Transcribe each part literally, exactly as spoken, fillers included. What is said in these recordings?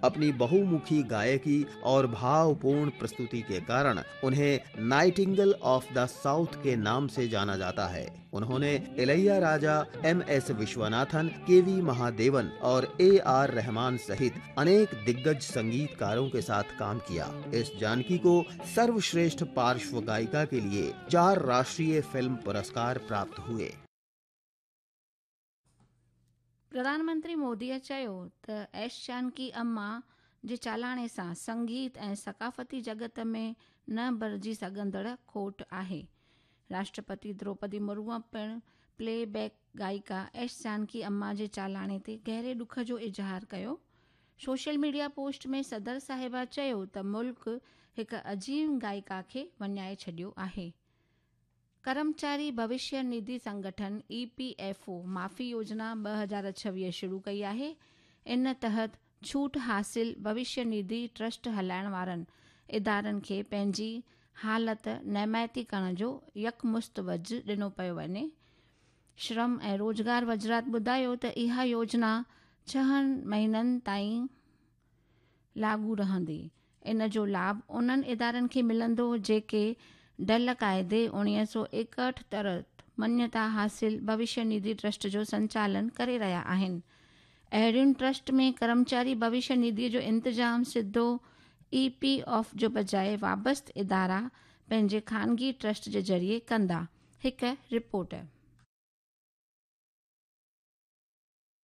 अपनी बहुमुखी गायकी और भावपूर्ण प्रस्तुति के कारण उन्हें नाइटिंगल ऑफ the south के नाम से जाना जाता है। उन्होंने Ilaiyaraaja, M S Viswanathan, K V Mahadevan और ए आर रहमान सहित अनेक दिग्गज संगीतकारों के साथ काम किया। एस जानकी को सर्वश्रेष्ठ पार्श्व गायिका के लिए चार राष्ट्रीय फिल्म पुरस्कार प्राप्त हुए। प्रधानमंत्री मोदीअ चयो त एस जानकी अम्मा जे चालाणे सां संगीत ऐं सकाफ़ती जगत में न भरिजी सघंदड़ खोट आहे। राष्ट्रपति द्रौपदी मुर्मू पिणु प्ले बैक गायिका एस जानकी अम्मा जे चालाणे ते गहरे ॾुख जो इज़हार कयो। सोशल मीडिया पोस्ट में सदर साहिबा चयो त मुल्क हिकु अज़ीम गायिका खे वञाए छॾियो आहे। कर्मचारी भविष्य निधि संगठन ई पी एफ ओ माफ़ी योजना ॿ हज़ार छवीह शुरू कई आहे। इन तहत छूट हासिल भविष्य निधि ट्रस्ट हलाइण वारनि इदारनि खे पंहिंजी हालत नमायती करण जो यकमुश्त वज ॾिनो पियो वञे। श्रम ऐं रोज़गार वज़ारत ॿुधायो त इहा योजना छहनि महीननि ताईं लागू रहंदी। इन जो लाभ उन्हनि इदारनि खे मिलंदो जेके डल काइदे उणिवीह सौ एकहठि तहत मान्यता हासिल भविष्य निधि ट्रस्ट जो संचालन करे रहिया आहिनि। अहिड़ियुनि ट्रस्ट में कर्मचारी भविष्य निधि जो इंतज़ाम सिधो ई पी एफ जो बजाए वाबस्त इदारा पंहिंजे ख़ानगी ट्रस्ट जे ज़रिए कंदा। हिकु रिपोर्ट।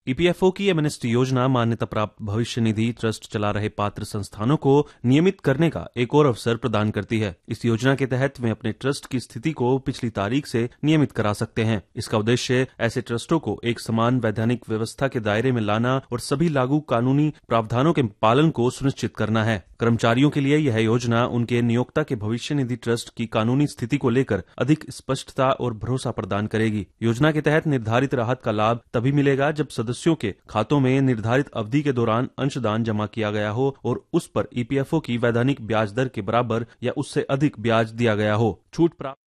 ईपीएफओ की एमनेस्टी योजना मान्यता प्राप्त भविष्य निधि ट्रस्ट चला रहे पात्र संस्थानों को नियमित करने का एक और अवसर प्रदान करती है। इस योजना के तहत वे अपने ट्रस्ट की स्थिति को पिछली तारीख से नियमित करा सकते हैं। इसका उद्देश्य ऐसे ट्रस्टों को एक समान वैधानिक व्यवस्था के दायरे में लाना और सभी लागू कानूनी प्रावधानों के पालन को सुनिश्चित करना है। कर्मचारियों के लिए यह योजना उनके नियोक्ता के भविष्य निधि ट्रस्ट की कानूनी स्थिति को लेकर अधिक स्पष्टता और भरोसा प्रदान करेगी। योजना के तहत निर्धारित राहत का लाभ तभी मिलेगा जब सदस्यों के खातों में निर्धारित अवधि के दौरान अंशदान जमा किया गया हो और उस पर ईपीएफओ की वैधानिक ब्याज दर के बराबर या उससे अधिक ब्याज दिया गया हो। छूट प्राप्त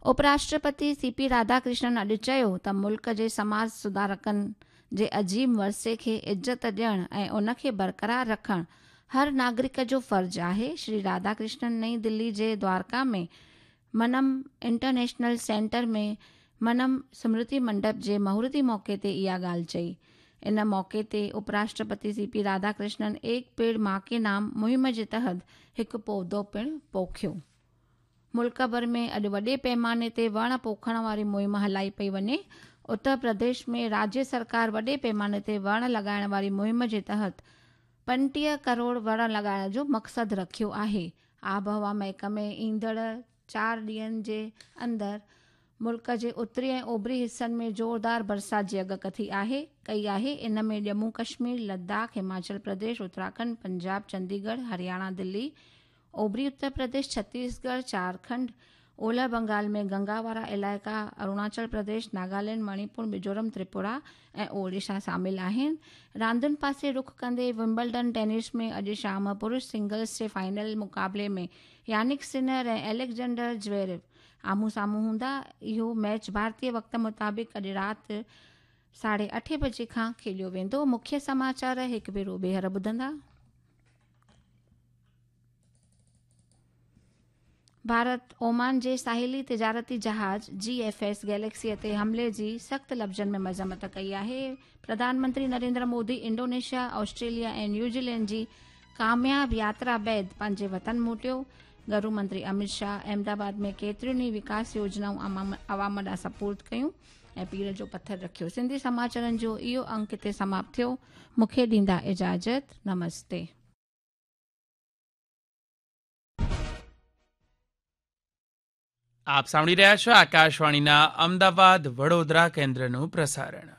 उपराष्ट्रपति सी पी राधाकृष्णन अॼु चयो त मुल्क जे समाज सुधारकनि जे अज़ीम वरसे खे इज़त ॾियणु ऐं उनखे बरक़रार रखणु हर नागरिक जो फ़र्ज़ आहे। श्री राधाकृष्णन नई दिल्ली जे द्वारका में मनम इंटरनेशनल सेंटर में मनम स्मृति मंडप जे मुहूर्ती मौक़े ते इहा ॻाल्हि चई। इन मौक़े ते उपराष्ट्रपति सी पी राधाकृष्णन एक पेड़ मां के नाम मुहिम जे तहत हिकु पौधो पिणु पोखियो। मुल्क भर में अॼु वॾे पैमाने ते वण पोखण वारी मुहिम हलाई पई वञे। उत्तर प्रदेश में राज्य सरकार वॾे पैमाने ते वण लॻाइण वारी मुहिम जे तहत पंटीह करोड़ वण लॻाइण जो मक़सदु रखियो आहे। आबहवा महकमे ईंदड़ चारि ॾींहंनि जे अंदरि मुल्क जे उत्तरी ऐं ओभरी हिसनि में ज़ोरदार बरसाति जी अॻकथी आहे कई आहे। इन में जम्मू कश्मीर, लद्दाख, हिमाचल प्रदेश, उत्तराखंड, पंजाब, चंडीगढ़, हरियाणा, दिल्ली, ओभरी उत्तर प्रदेश, छत्तीसगढ़, झारखंड, ओलह बंगाल में गंगा वारा इलाइक़ा, अरुणाचल प्रदेश, नागालैंड, मणिपुर, मिज़ोरम, त्रिपुरा ऐं ओडिशा शामिल आहिनि। रांदियुनि पासे रुख कंदे विम्बलडन टेनिस में अॼु शाम पुरुष सिंगल्स जे फाइनल मुक़ाबले में यानिक सिनर ऐं अलेक्जेंडर ज्वेरेव आम्हूं साम्हूं हूंदा। इहो मैच भारतीय वक़्त मुताबिक़ अॼु राति साढे अठे बजे खां खेलियो वेंदो। मुख्य समाचार हिकु भेरो ॿीहर ॿुधंदा। भारत ओमान जे साहिली तिजारती जहाज़ जी एफ एस गैलेक्सीअ ते हमले जी सख़्तु लफ़्ज़नि में मज़म्मत कई आहे। प्रधानमंत्री नरेंद्र मोदी इंडोनेशिया, ऑस्ट्रेलिया ऐं न्यूज़ीलैंड जी कामयाब यात्रा बाद पंहिंजे वतन मोटियो। गृह मंत्री अमित शाह अहमदाबाद में केतिरियुनि ई विकास योजनाऊं आवाम ॾांहुं सपुर्द कयूं ऐं पीर जो पथर रखियो। सिंधी समाचारनि जो इहो अंक हिते समाप्त थियो। मूंखे ॾींदा इजाज़त। नमस्ते। આપ સાંભળી રહ્યા છો આકાશવાણીના અમદાવાદ વડોદરા કેન્દ્રનું પ્રસારણ.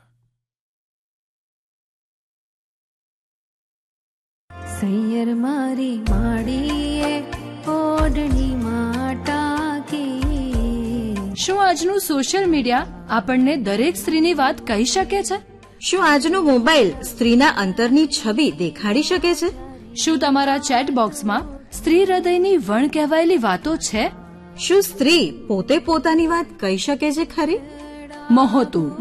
સૈયર મારી માડીએ ઓઢણી માટાકે. શું આજનું સોશિયલ મીડિયા આપણને દરેક સ્ત્રીની વાત કહી શકે છે? શું આજનો મોબાઈલ સ્ત્રીના અંતરની છબી દેખાડી શકે છે? શું તમારા ચેટ બોક્સમાં સ્ત્રી હૃદયની વણ કહેવાયેલી વાતો છે? શું સ્ત્રી પોતે પોતાની વાત કહી શકે છે ખરી? મહોતું.